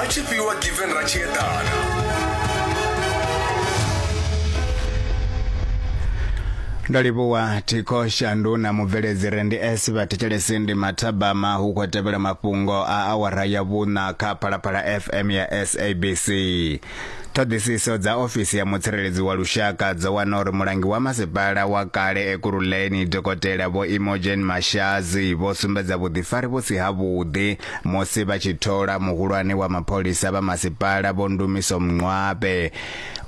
Na tshifhiwa given ra tshi eḓana. Ndo livhuwa Thikho Shandu na mubveledzi Rendi S vhathetshelesi ndi mathabama hu khou tevhela mafhungo a awara ya vhuṋa kha Phalaphala FM ya SABC. Ṱhoḓisiso dza ofisi ya mutsireledzi wa lushaka dzo wana uri mulangi wa masipala wa kale Ekurhuleni Dokotela Vho Imogen Mashazi vho sumbedza vhuḓifari vhu si havhuḓi musi vha tshi thola muhulwane wa mapholisa vha masipala Vho Ndumiso Mncwabe.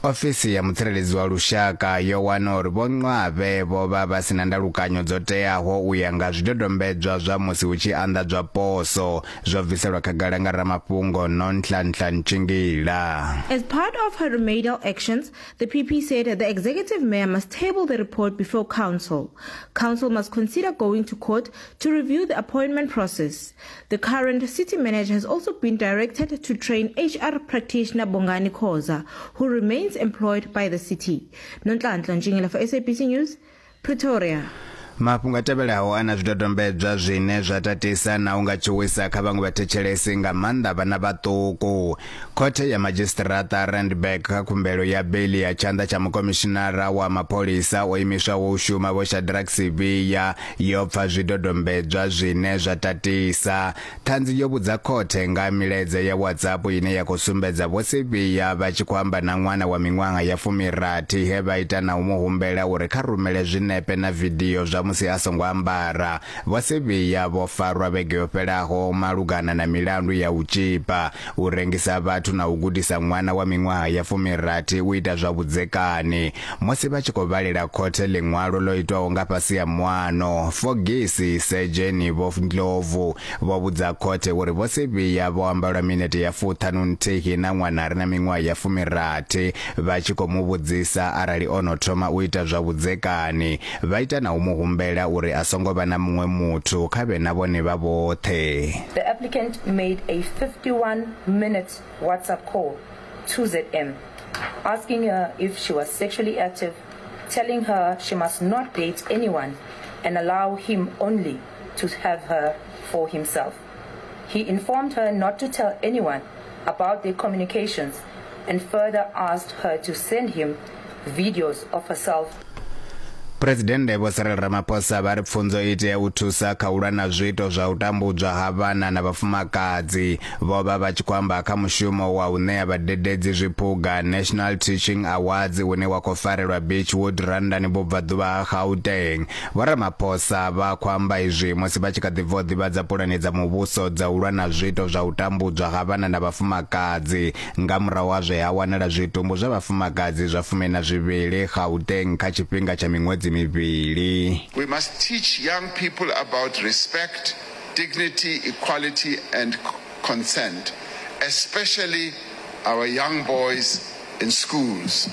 Ofisi ya mutsireledzi wa lushaka yo wana uri Vho Mncwabe vho vha vha si na ndalukanyo dzo teaho u ya nga zwidodombedzwa zwa musi hu tshi anḓadzwa poso. Zwo bviselwa khagala nga ramafhungo Nonhlanhla Ntshingila. As part of her remedial actions, the PP said the executive mayor must table the report before council. Council must consider going to court to review the appointment process. The current city manager has also been directed to train HR practitioner Bongani Khoza, who remains employed by the city. Nonhlanhla Ntshingila for SABC News, Pretoria. Mafhungo a tevhelaho a na zwidodombedzwa zwine zwa tatisa na u nga tshuwisa kha vhaṅwe vhathetshelesi nga maanḓa vhana vhaṱuku. Khothe ya Madzhisiṱiraṱa Randburg kha khumbelo ya beiḽi ya tshanḓa tsha mukomishinara wa mapholisa o imiswaho u shuma Vho Shadrack Sibiya yo pfa zwidodombedzwa zwine zwa tatisa. Ṱhanzi yo vhudza khothe nga milaedza ya WhatsApp ine ya khou sumbedza Vho Sibiya vha tshi khou amba na ṅwana wa miṅwaha ya fumirathi he vha ita na u mu humbela uri kha rumele zwinepe na vidio zwa musi a songo ambara. Vho Sibiya vho farwa vhege yo fhelaho malugana na milandu ya u tzhipa, u rengisa vhathu na u gudisa ṅwana wa miṅwaha ya fumirathi u ita zwa vhudzekani. Musi vha tshi khou vhalela khothe ḽiṅwalo ḽo itwaho nga fhasi ha muano, Fogisi Sedzheni Vho Ndlovu vho vhudza khothe uri Vho Sibiya vho amba lwa minete ya fuṱhanu-nthihi na ṅwana a re na miṅwaha ya fumirathi vha tshi khou mu vhudzisa arali o no thoma u ita zwa vhudzekani, vha ita na u mu humbela uri a songo vha na muṅwe muthu kha vhe na vhone vha vhoṱhe. The applicant made a 51-minute WhatsApp call to ZM, asking her if she was sexually active, telling her she must not date anyone and allow him only to have her for himself. He informed her not to tell anyone about their communications and further asked her to send him videos of herself. Phresidennde Vho Cyril Ramaphosa vha ri pfunzo i tea u thusa kha u lwa na zwiito zwa u tambudzwa ha vhana na vhafumakadzi. Vho vha vha tshi khou amba kha mushumo wa u ṋea vhadededzi zwiphuga National Teaching Awards une wa khou farelwa Beachwood Randani vhubvaḓuvha ha Gauteng. Vho Ramaphosa vha khou amba izwi musi vha tshi kha ḓi bva u ḓivhadza pulane dza muvhuso dza u lwa na zwiito zwa u tambudzwa ha vhana na vhafumakadzi nga murahu ha zwe ha wanala zwitumbu zwa vhafumakadzi zwa fumi na zwivhili Gauteng kha tshifhinga tsha miṅwedzi mivhili. We must teach young people about respect, dignity, equality and consent, especially our young boys in schools.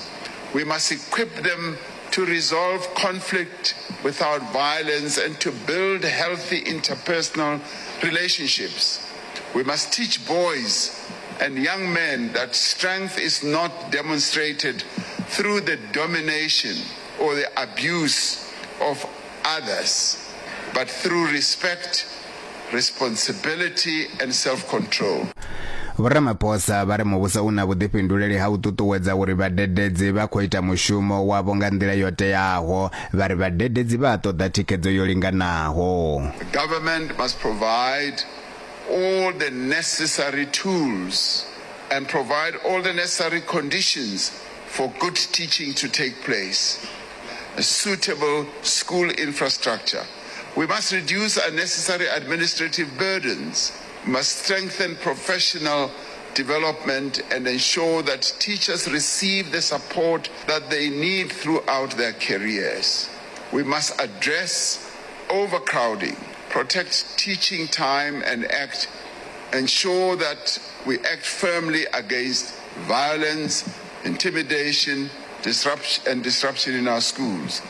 We must equip them to resolve conflict without violence and to build healthy interpersonal relationships. We must teach boys and young men that strength is not demonstrated through the domination or the abuse of others, but through respect, responsibility and self-control. Vho Ramaphosa vha ri muvhuso u na vhuḓifhinduleli ha u ṱuṱuwedza uri vhadededzi vha khou ita mushumo wavho nga nḓila yo teaho. Vha ri vhadededzi vha a ṱoḓa thikhedzo yo linganaho. The government must provide all the necessary tools and provide all the necessary conditions for good teaching to take place. A suitable school infrastructure. We must reduce unnecessary administrative burdens. We must strengthen professional development and ensure that teachers receive the support that they need throughout their careers. We must address overcrowding, protect teaching time and act ensure that we act firmly against violence, intimidation, disruption and disruption in our schools.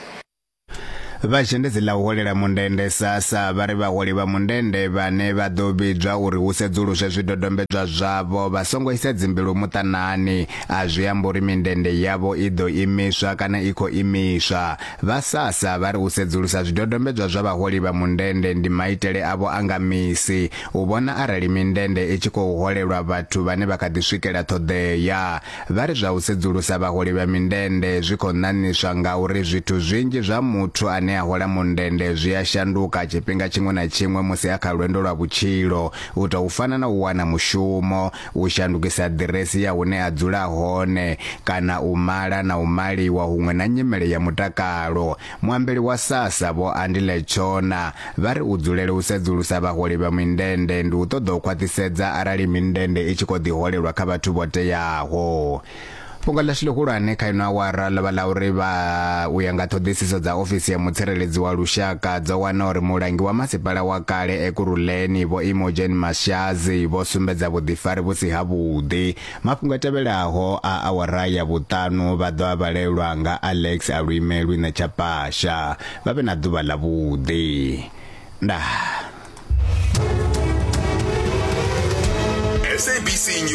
Vha zhendedzi ḽa u holela mundende SASSA vha ri vhaholi vha mundende vhane vha ḓo vhidzwa uri hu sedzuluswe zwidodombedzwa zwavho vha songo isa dzimbilu muṱanani. A zwi ambi uri mindende yavho i ḓo imiswa kana i khou imiswa. Vha SASSA vha ri u sedzulusa zwidodombedzwa zwa vhaholi vha mundende ndi maitele avho a nga misi u vhona arali mindende i tshi khou holelwa vhathu vhane vha kha ḓi swikela ṱhoḓea. Vha ri zwa u sedzulusa vhaholi vha mindende zwi khou ṋaṋiswa ngauri zwithu zwinzhi zwa muthu ane a hola mundende zwi a shanduka tshifhinga tshiṅwe na tshiṅwe musi a kha lwendo lwa vhutshilo, u tou fana na u wana mushumo, u shandukisa ḓiresi ya hune a dzula hone kana u mala na u maliwa huṅwe na nyimele ya mutakalo. Muambeli wa SASSA Vho Andile Tshona vha ri u dzulela u sedzulusa vhaholi vha mindende ndi u ṱoḓa u khwaṱhisedza arali mindende i tshi khou ḓi holelwa kha vhathu vho teaho. Fhungo ḽashu ḽihulwane kha ino awara ḽo vha ḽa uri vha u ya nga ṱhoḓisiso dza ofisi ya mutsireledzi wa lushaka dzo wana uri mulangi wa masipala wa kale Ekurhuleni Vho Imogen Mashazi vho sumbedza vhuḓifari vhu si havhuḓi. Mafhungo a tevhelaho a awara ya vhuṱanu vha ḓo a vhalelwa nga Alex Aluimelwi Ṋetshapasha. Vha vhe na ḓuvha ḽavhuḓi. Ndaa. SABC News.